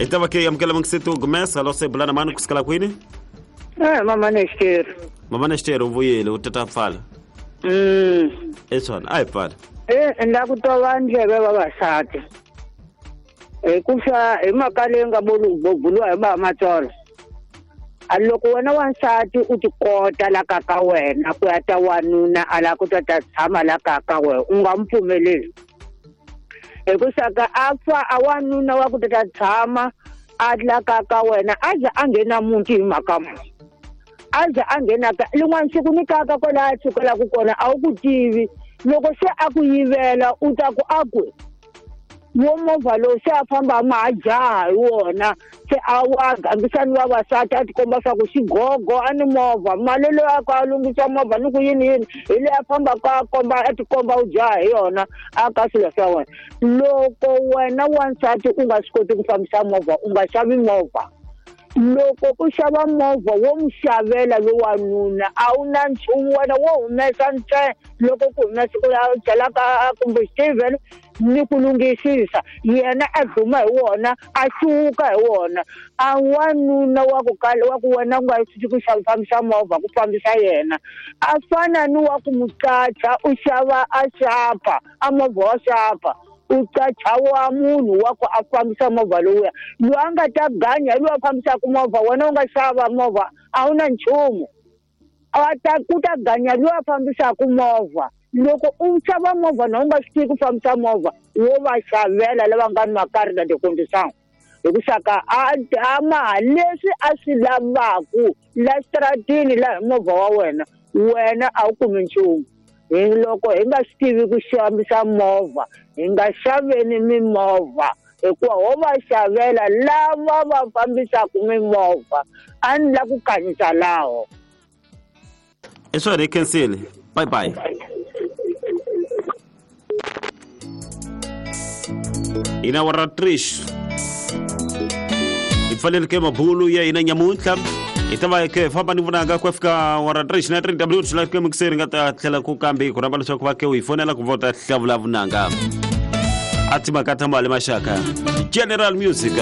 Hi ta va ke amukela mungiseto Gomez alo se bulana mani kusukela kwini? Mama Nexteri. Mama Nexteri u vuyile u tata pfala. Eswana a hi pfala. La ku tova ndleve vavasati. Hikuva hi mhaka leyi nga buluwa hi ba Matsolo. A loko wena wansati u tikota la ka ka wena ku ya ta wanuna a la ku ta ta tshama la ka ka wena u nga n'wi pfumeleli. Hikusa ka a fa a wanuna wa ku ta ta tshama a la ka ka wena a za a nghena muti hi mhaka muni. A za a nghena ka lin'wana siku ni kaka kwalaho a sukelaku kona a wu ku tivi loko se a ku yivela u ta ku a ku wo movha lowu se a famba ma ha jaha hi wona se a wa gangisa ni vavasati a tikomba swa ku xigogo a ni movha mali loyi a ka a lunghisa movha ni ku yini yini hi leyi a fambaka a komba a tikomba u jaha hi yona a ka swilo swa wena. Loko wena wansati u nga swi koti ku fambisa movha u nga xavi movha. Loko u xava movha wo n'wi xavela lowanuna a wu na nchumu wena wo humesa ntsena loko ku humesa u ya byela ka kumbe Steven ni ku lunghisisa yena a dluma hi wona a hluvuka hi wona. A wanuna wa ku kala wa ku wena u nga swi ku fambisa movha ku fambisa yena a fana ni wa ku muqacha u xava a xapa a movha wa xapa u qacha wa munhu wa ku a fambisa movha lowuya loyi a nga ta ganya hi loyi a fambisaka movha wena u nga xava movha a wu na nchumu a ta ku ta ganya loyi a fambisaka movha. Loko u xava movha na u nga swi tivi ku fambisa movha wo va xavela lava nga ni makari na tikondisango hikusa ka a ma leswi a swi lavaku la xitaratini la hi movha wa wena wena a wu kumi nchumu. Hi loko hi nga swi tivi ku xavisa movha hi nga xaveni mimovha hikuva ho va xavela lava va fambisaka mimovha a ni la ku kanyisa laho. I swona hi khensile. Bye bye. Hina wa ra Trish hi pfaleli ke mabulu ya hina nyamuntlha hi ta va ke famba ni vonaka ku fika wa ra Trish na 3 W tlhela ke mixeri nga ta tlhela ku kambe ku rhamba leswaku va ke u hi fonela ku vota hlavula vunanga a timhaka ta mali maxaka General Music.